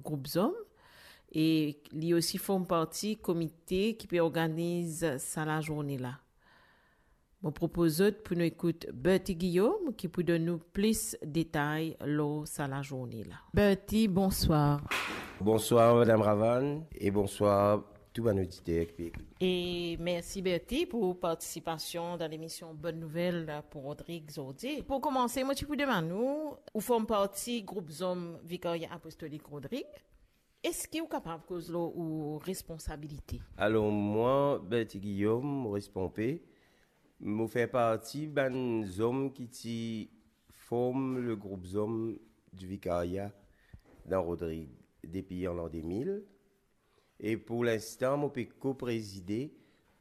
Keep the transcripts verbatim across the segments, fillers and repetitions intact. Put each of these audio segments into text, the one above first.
group zom, e li osi form parti komite ki pe organiz sa lazourne la. Mo propoz zot pou nou ekout Bertie Guillaume ki pou donn nou plis detay lor sa lazourne la. Bertie, bonswar. Bonswar, Madam Ravan, e bonswar tou bann oditer ki pe ekout. E mersi, Bertie, pou partisipasion dan lemision Bonn Nouvel pou Rodrig zordi. Pou koumanse, mo ti pou demann ou, ou form parti group zom Vikarya Apostolik Rodrig. Eski ou kapav koz lor ou responsabilite? Alor, mwa, Bertie Guillaume, Maurice Pompée, mo fer parti bann zom ki ti form le group zom di Vikarya dan Rodrig depi an lan de mil. E pou linstan, mo pe ko-prezide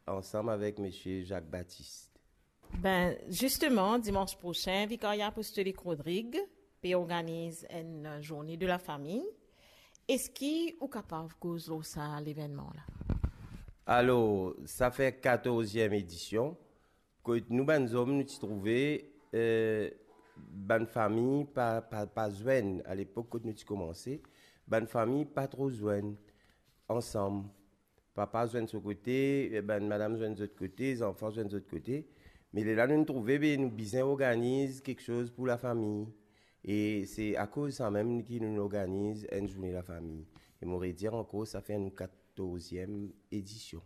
ansam avek misie Jacques Baptiste. Ben, zisteman, dimans prosin, Vikarya Apostolik Rodrig pe organiz enn zourne de lafami. Eski ou kapav koz lor sa levennman la? Alor, sa fer katorz edision, kot nou bann zom, nou ti trouve, eh, bann fami pa, pa, pa zwenn. Alepok, kot nou ti koumanse, bann fami pa tro zwenn ansam. Papa zwenn so kote, eh, bann madam zwenn zot kote, zanfan zwenn zot kote. Me lerla nou trouve, be, nou bizin organiz kiksoz pou lafami. E se akoz samem ki nou organiz enn zourne lafami. E mo redir ankor, sa fer nou katorz edision.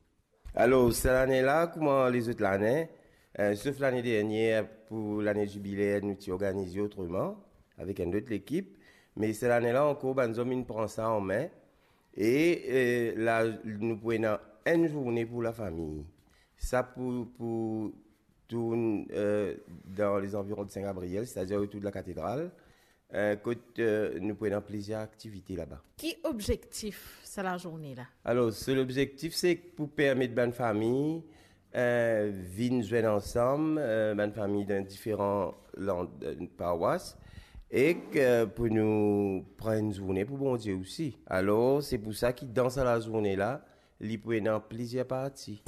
Alor, sa lane la, kouma lezot lane, eh, sof lane dernier, pou lane zibiler, nou ti organize otreman, avek enn lot lekip. Me sa lane la ankor, bann zom inn pran sa an me. E, eh, la, nou pou ena enn zourne pou lafami. Sa pou, pou tourn, eh, dan lezanviron de Saint Gabriel, setadir otour de lakatedral, eh, kot, eh, nou pou ena plizier aktivite laba. Ki obzektif sa lazourne la? Alor, so lobzektif, se pou permet bann fami, eh, vinn zwenn ansam, eh, bann fami dan diferan lan-, eh, parwas, ek, eh, pou nou pran enn zourne pou Bondie osi. Alor, se pou sa ki dan sa lazourne la, li pou ena plizier parti.